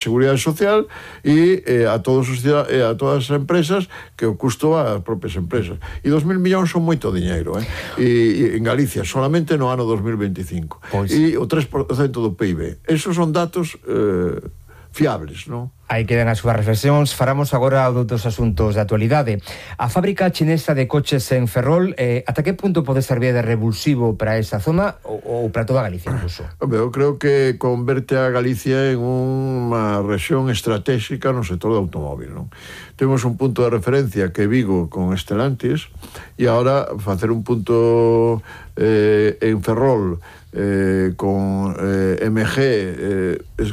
Seguridade Social e a todas as empresas que o custo as propias empresas. E 2.000 millóns son moito diñeiro, e en Galicia, solamente no ano 2025. Pois. E o 3% do PIB. Esos son datos fiables, non? Aí quedan as súas reflexións. Faramos agora dos asuntos de actualidade. A fábrica chinesa de coches en Ferrol, ata que punto pode servir de revulsivo para esa zona ou para toda Galicia incluso? Eu creo que converte a Galicia en unha rexión estratégica no sector do automóbil, non? Temos un punto de referencia que é Vigo con Stellantis, e agora facer un punto en Ferrol con MG,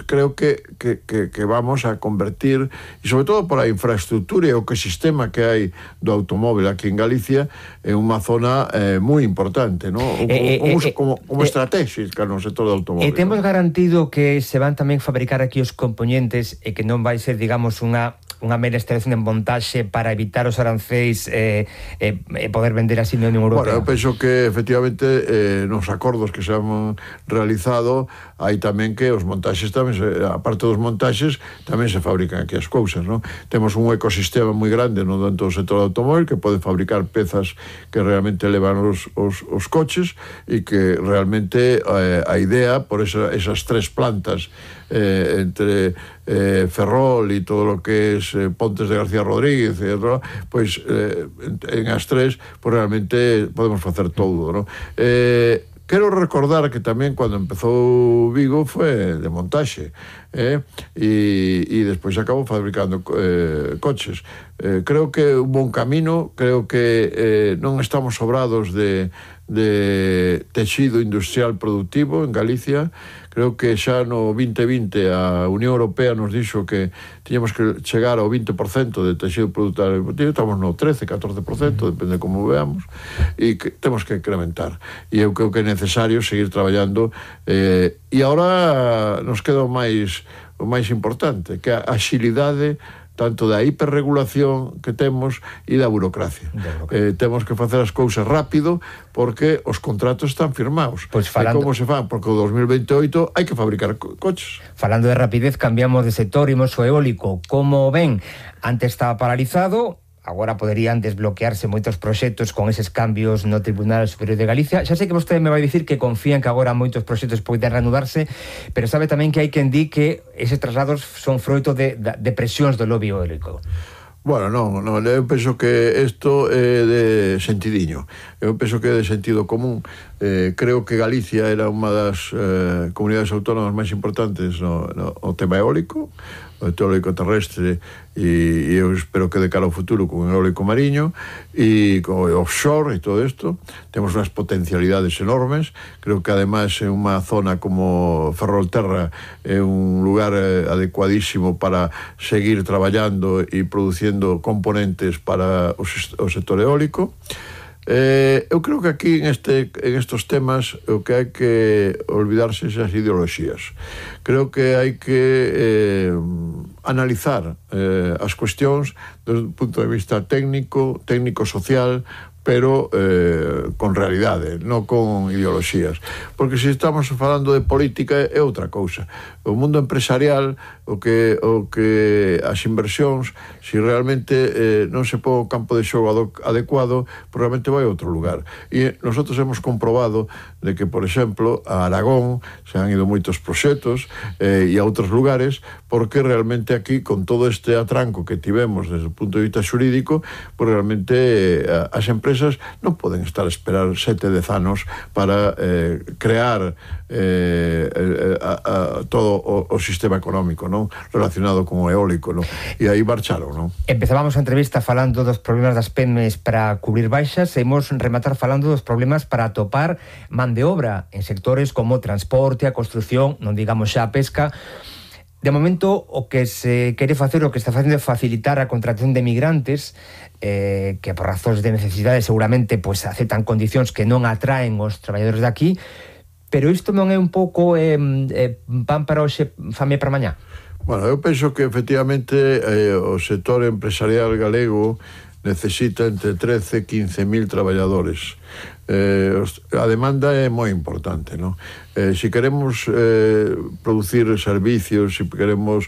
creo que vamos a convertir, e sobre todo por a infraestructura e o ecosistema que hai do automóbil aquí en Galicia, en unha zona moi importante, ¿no? Como estratégica no sector do automóbil. E temos garantido que se van tamén fabricar aquí os componentes e que non vai ser, digamos, unha mera instalación en montaxe para evitar os arancéis e poder vender así na Unión Europea? Bueno, eu penso que efectivamente nos acordos que se han realizado hai tamén que os montaxes tamén, aparte dos montaxes, tamén se fabrican aquí as cousas, non? Temos un ecosistema moi grande no dentro do sector do automóbil que pode fabricar pezas que realmente levan os coches, e que realmente a idea por esas tres plantas entre Ferrol e todo o que es Pontes de García Rodríguez e outro, pois en as tres pois realmente podemos facer todo, non? Quero recordar que tamén cando empezou Vigo foi de montaxe, e despois acabou fabricando coches. Creo que un bon camino, creo que non estamos sobrados de texido industrial productivo en Galicia. Creo que xa no 2020 a Unión Europea nos dixo que tiñamos que chegar ao 20% de texido productivo, estamos no 13-14%, depende de como veamos, e que temos que incrementar. E eu creo que é necesario seguir traballando, e agora nos queda o máis importante, que a axilidade tanto da hiperregulación que temos e da burocracia. Temos que facer as cousas rápido porque os contratos están firmados. Pois falando... E como se fan? Porque o 2028 hai que fabricar coches. Falando de rapidez, cambiamos de sector, imos ao eólico. Como ven, antes estaba paralizado, agora poderían desbloquearse moitos proxectos con eses cambios no Tribunal Superior de Galicia. Xa sei que vostede me vai dicir que confían que agora moitos proxectos poden reanudarse, pero sabe tamén que hai quen di que eses traslados son froito de presións do lobby eólico. Bueno, non, eu penso que isto é de sentidiño. Eu penso que é de sentido común. Creo que Galicia era unha das comunidades autónomas máis importantes no tema eólico, o eólico terrestre, e eu espero que de cara ao futuro con o eólico mariño e con o offshore e todo isto temos unhas potencialidades enormes. Creo que ademais é unha zona como Ferrolterra, é un lugar adecuadísimo para seguir traballando e producindo componentes para o sector eólico. Eu creo que aquí en estos temas o que hai que olvidarse esas ideoloxías. Creo que hai que analizar as cuestións desde un punto de vista técnico-social, pero con realidade, non con ideoloxías. Porque se estamos falando de política é outra cousa. O mundo empresarial, o que as inversións, se realmente non se pon o campo de xogo adecuado, probablemente vai a outro lugar. E nosotros hemos comprobado de que, por exemplo, a Aragón se han ido moitos proxectos e a outros lugares, porque realmente aquí, con todo este atranco que tivemos desde o punto de vista xurídico, pues realmente as empresas non poden estar a esperar 7-10 anos para crear todo o sistema económico, non, relacionado con o eólico, non? E aí marcharon, non? Empezábamos a entrevista falando dos problemas das PEMES para cubrir baixas, e imos rematar falando dos problemas para atopar man de obra en sectores como transporte, a construción, non digamos xa a pesca. De momento, o que se quere facer, o que está facendo é facilitar a contratación de migrantes que por razóns de necesidade seguramente pues, aceptan condicións que non atraen os traballadores de aquí, pero isto non é un pouco pan para hoxe, fame para mañá? Bueno, eu penso que efectivamente o sector empresarial galego necesita entre 13 e 15.000 traballadores. A demanda é moi importante, non? Se queremos producir servicios, se queremos